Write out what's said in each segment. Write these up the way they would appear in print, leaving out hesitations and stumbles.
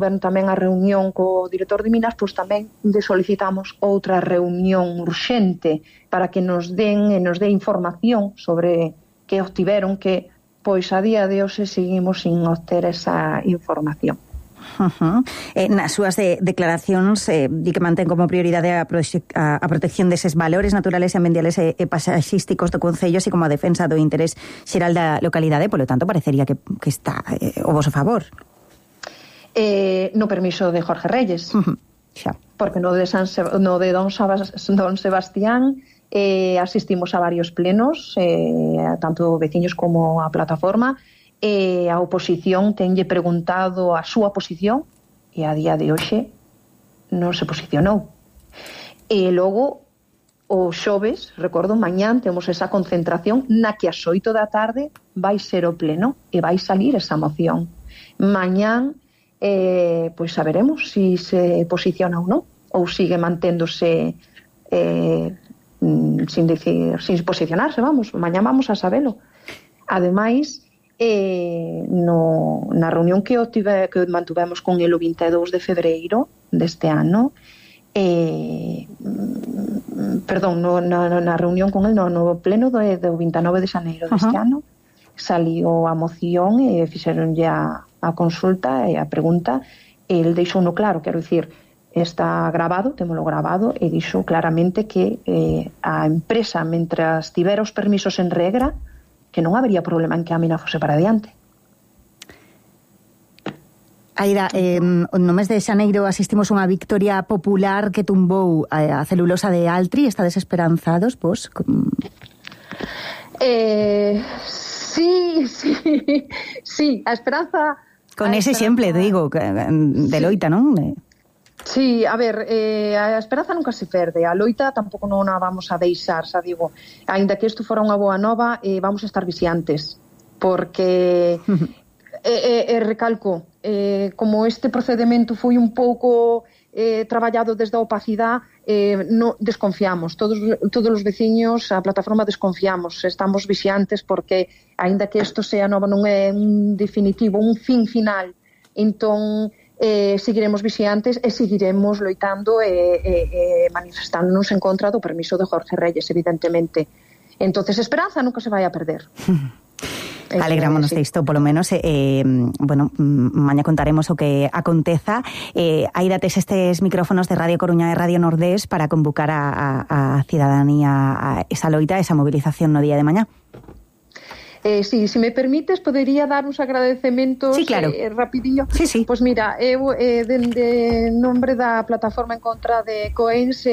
tamén a reunión co director de Minas, pois tamén solicitamos outra reunión urxente para que nos dé información sobre que obtiveron, que pois a día de hoxe seguimos sin obter esa información. Nas súas declaracións di que mantén como prioridade a protección deses valores naturales e ambientales e pasaxísticos do Concello, así como a defensa do interés xeral da localidade, polo tanto parecería que está o voso favor. No permiso de Jorge Reyes, xa. Porque no de Don Sebastián asistimos a varios plenos, tanto veciños como a plataforma. A oposición tenlle preguntado a súa posición e a día de hoxe non se posicionou. E logo o xoves, recordo, mañán temos esa concentración na que ás 8 da tarde vai ser o pleno e vai salir esa moción. Mañán pois saberemos se posiciona ou non, ou sigue manténdose sin posicionarse, vamos, mañán vamos a sabelo. Ademais, na reunión que mantuvemos con el o 22 de febreiro deste ano, na reunión con el no pleno do 29 de xaneiro deste ano, saliu a moción e fixeronlle a consulta e a pregunta, e el deixou no claro, quero dicir, está grabado, témolo grabado, e dixo claramente que a empresa, mentras tivera os permisos en regra, que non habería problema en que a mina fose para adiante. Aida, no mes de xaneiro asistimos a unha victoria popular que tumbou a celulosa de Altri. Estades esperanzados, vos? Sí, a esperanza... Con ese exemplo, digo, de loita, non? Sí, a ver, a esperanza nunca se perde, a loita tampouco non a vamos a deixar, xa digo, aínda que isto fora unha boa nova, vamos a estar vixiantes, porque recalco, como este procedimento foi un pouco traballado desde a opacidade, desconfiamos, todos os veciños, a plataforma desconfiamos, estamos vixiantes porque aínda que isto sea nova, non é un definitivo, un fin final, entón seguiremos vixiantes e seguiremos loitando e manifestándonos en contra do permiso de Jorge Reyes, evidentemente. Entonces, esperanza nunca se vai a perder. Alegrámonos disto, polo menos. Maña contaremos o que aconteza. Aí dates estes micrófonos de Radio Coruña e Radio Nordés para convocar a cidadanía a esa loita, a esa movilización no día de mañá. Sí, se me permites, podería dar uns agradecementos rapidiño. Sí. Pois mira, eu dende nombre da plataforma en contra de Coens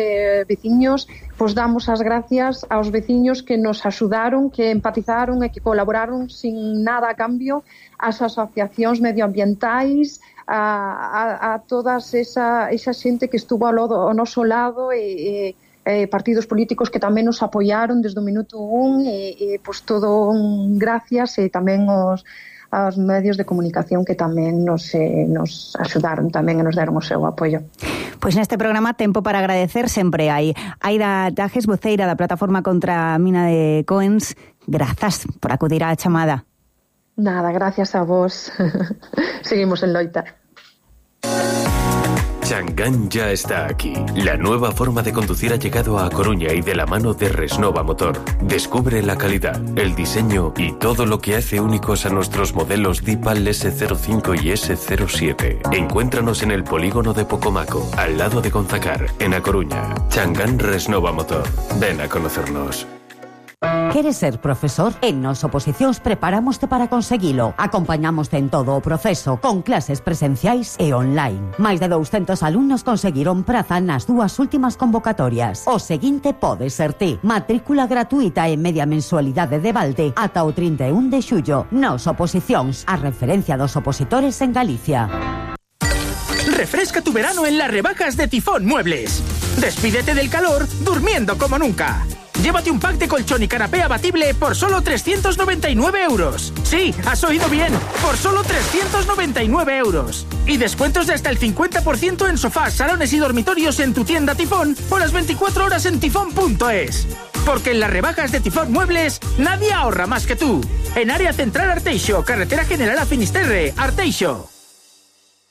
veciños, pois damos as gracias aos veciños que nos axudaron, que empatizaron e que colaboraron sin nada a cambio, as asociacións medioambientais, a todas esa xente que estuvo ao noso lado e partidos políticos que tamén nos apoiaron desde o minuto 1 e pois todo gracias, e tamén aos medios de comunicación que tamén nos axudaron tamén e nos deron o seu apoio. Pois neste programa tempo para agradecer sempre hai. Aida Tajes, voceira da plataforma contra a mina de Coens, grazas por acudir á chamada. Nada, gracias a vos. Seguimos en loita. Changán ya está aquí. La nueva forma de conducir ha llegado a Coruña y de la mano de Resnova Motor. Descubre la calidad, el diseño y todo lo que hace únicos a nuestros modelos Dipal S05 y S07. Encuéntranos en el polígono de Pocomaco, al lado de Gonzacar, en A Coruña. Changán Resnova Motor. Ven a conocernos. Queres ser profesor? En Nos Oposicións preparámoste para conseguilo. Acompañamoste en todo o proceso, con clases presenciais e online. Máis de 200 alumnos conseguiron praza nas dúas últimas convocatorias. O seguinte pode ser ti. Matrícula gratuita e media mensualidade de balde ata o 31 de xullo. Nos Oposicións, a referencia dos opositores en Galicia. Refresca tu verano en las rebajas de Tifón Muebles. Despídete del calor durmiendo como nunca. Llévate un pack de colchón y canapé abatible por solo 399 euros. Sí, has oído bien, por solo 399 euros. Y descuentos de hasta el 50% en sofás, salones y dormitorios en tu tienda Tifón o las 24 horas en tifón.es. Porque en las rebajas de Tifón Muebles nadie ahorra más que tú. En Área Central Arteixo, Carretera General a Finisterre, Arteixo.